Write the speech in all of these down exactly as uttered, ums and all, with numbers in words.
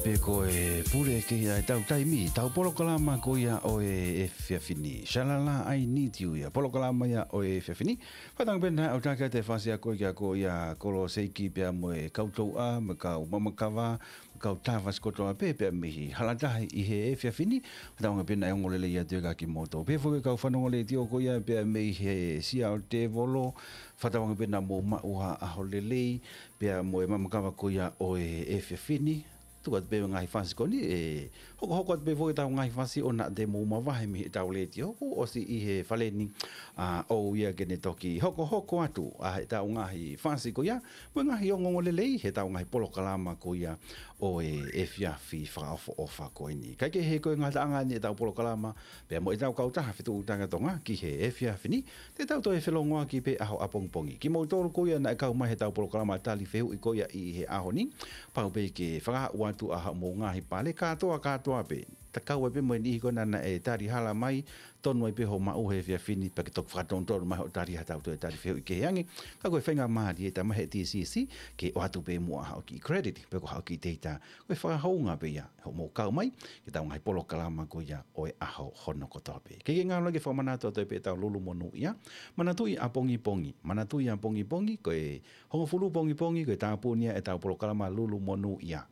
Pe ko e pule ke ia ʻetau taimi, ʻetau polokalama ko ia ʻo e efiafi ni. Shalala, I need you ia. Polokalama ia ʻo e efiafi ni. Fakatauange pē naʻa ʻoku ʻatā kiate fasi a koe kia ko ia Kolo Seiki pea mo e kau touʻa, mo e kau mamakava, mo e kau tavasi kotoa pē, pea mei he hala tahi ʻi he efiafi ni. Fakatauange pē naʻe ongo lelei atu ia kia kimoutolu. Pea foki kau fanongo letiō ko ia pea mei he Sea ʻo Tēvolo, fakatauange pē naʻa mou maʻu ha ʻaho lelei, pea mo e mamakava ko ia ʻo e efiafi ni. Tuku atu pē ngaahi fasi ko eni, ʻe hokohoko atu pē foki ʻetau ngaahi fasi ʻo naʻa te mou mavahe mei heʻetau letiō, kuo ʻosi ʻi he fale ni, ʻa, ʻoku ou ia ke ne toki hokohoko atu, ʻa, ʻetau ngaahi fasi ko ia, mo e ngaahi ongoongo lelei, heʻetau ngaahi polokalama ko ia ʻo e efiafi fakaʻofoʻofa ko eni. Kae kehe ko e ngataʻanga ni ʻetau polokalama, pea mo ʻetau kautaha fetuʻutaki ʻa Tonga ki he efiafi ni, te tau toe felongoaki pē ʻaho ʻapongipongi. Kimoutolu ko ia naʻe kau mai heʻetau polokalama tali fehuʻi ko ia ʻi he ʻaho ni, pau pē ke fakahā atu ʻa hoʻomou ngaahi pale kātoa kātoa pē. Tatau ai pē mo e niʻihi ko ena naʻe tali hala mai, tonu ai pē hoʻo maʻu he efiafi ni, pea ke toki fakatonutonu mai hoʻo tali ha tau toe tali fehuʻi kehe ange. Ka ko e faingamālie ʻe taha mai he T C C, ke ʻoatu pē muʻa haʻo kiʻi credit, pe ko haʻo kiʻi teita, ko e fakahounga pē ia hoʻomou kau mai ki heʻetau ngaahi polokalama ko ia ʻo e ʻaho hono kotoa pē. Ke ke ngalo ke fakamanatu atu pē ʻetau Lulu Monūʻia. Manatuʻi ʻapongipongi. Manatuʻi ʻapongipongi, ko e hongofulu pongipongi, ko e tāpuni ia ʻetau polokalama Lulu Monūʻia.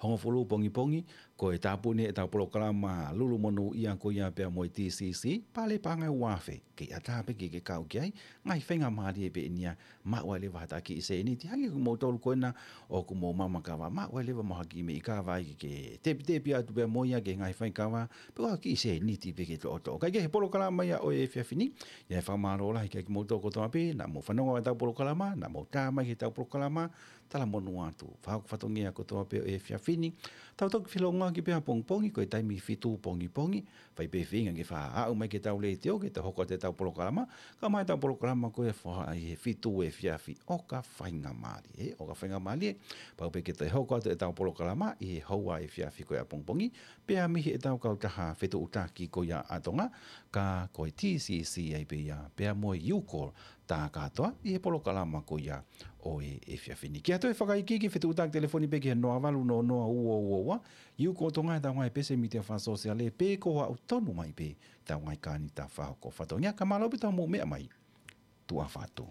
Hongofulu pongipongi, ko e tāpuni ʻetau polokalama Lulu Monūʻia ko ia pea mo e T C C, pale paʻanga ʻe uaafe. Kei ʻatā pē ke ke kau ki ai, ngaahi faingamālie pē eni ia, maʻu ai leva ha kiʻi sēniti, hangē ko kimoutolu ko ena ʻoku mou mamakava, maʻu ai leva mo ha kiʻi meʻi kava ai ke tepitepi atu pē mo ia ki he ngaahi faikava, pe ko ha kiʻi sēniti pē ke toʻotoʻo. Kae kehe polokalama ia ʻo e efiafi ni, ʻoku ou fakamālō lahi kia kimoutolu kotoa pē, naʻa mou fanongo ʻetau polokalama, naʻa mou tā mai ki heʻetau polokalama, talamonū atu. Fakahoko fatongia kotoa pē ʻo e efiafi ni, tau toki felongoaki pē ʻapongipongi, ko e taimi fitu pongipongi, fai pē feinga ke fakaaʻu mai ki heʻetau letiō, ke tau hoko atu ʻetau polokalama, kau mai ʻetau polokalama ko ia ʻi he fitu efiafi, ʻoka faingamālie, ē, ʻoka faingamālie, pau pē ke toe hoko atu ʻetau polokalama ʻi he houa efiafi ko ia ʻapongipongi, pea mei heʻetau kautaha fetuʻutaki ko ia ʻa Tonga, ka ko e T C C ai pē ia, pea mo e Ucall, tā kātoa ʻi he polokalama ko ia ʻo e efiafi ni. Ke ʻoatu e fakaikiiki, fetuʻutaki telefoni pē ki he noa valu noa noa ua ua ua, Ucall Tonga, ʻetau ngaahi pese mītia fakasōsiale, pe ko e aʻu tonu mai pē ʻetau ngaahi kānita fakahoko fatongia. Ka mālō pē ʻetau mou meʻa mai. Tuʻa ʻofa atu.